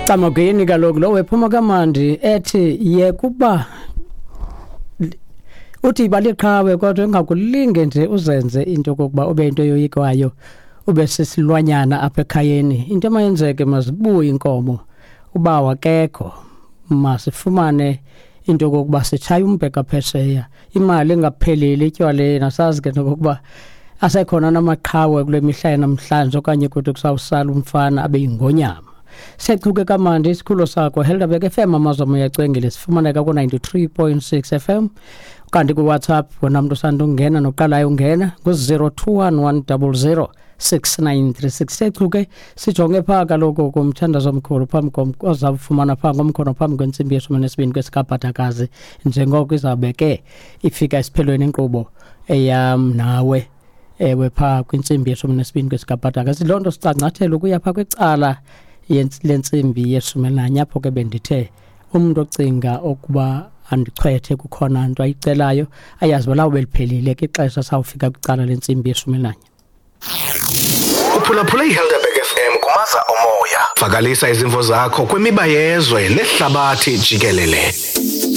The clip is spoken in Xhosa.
Camagweni kaloku lo wephuma kamandi ethi yekuba uthi baliqhawe kodwa ungakulinge nje uzenze into kokuba ube into yoyikwayo ube sisilwanyana apha ekhayeni. Into emayenzeke mazibuye inkomo uba wakekho, masifumane into yokokuba sitshaye umbheka phesheya, imali ingapheleli etywaleni. Asazi ke nokokuba asekhona namaqhawe kule mihla yanamhlanje okanye kuthi kusawusala umfana abe yingonyama. Sechuke kamandi isikhululo sakho Helderberg FM, amazwe uyacwengile, sifumaneka ku-93.6 FM. Kanti kuWhatsApp wena mntu usanda ungena noqalayo ungena ngu-021 100 6936. Sechuke sijonge phaa kaloku kumthandazo omkhulu phambi ozawufumana phaa ngomkhono phambi kwentsimbi yeshumi nesibini kwesikabhadakazi, njengoko izawube ke ifika esiphelweni inkqubo eyam nawe, ewe, phaa kwintsimbi yeshumi nesibini kwesikabhadakazi. Loo nto sicangcathela ukuya phaa kwicala lentsimbi yeshumi nanye, apho ke bendithe umntu ocinga ukuba andichwethe kukhona nto ayicelayo, ayazi uba lawube liphelile ke ixesha sawufika kwicala lentsimbi yeshumi nanye. Uphulaphule iHelderberg FM kumaza omoya. Vakalisa izimvo zakho kwimiba yezwe nehlabathi jikelele.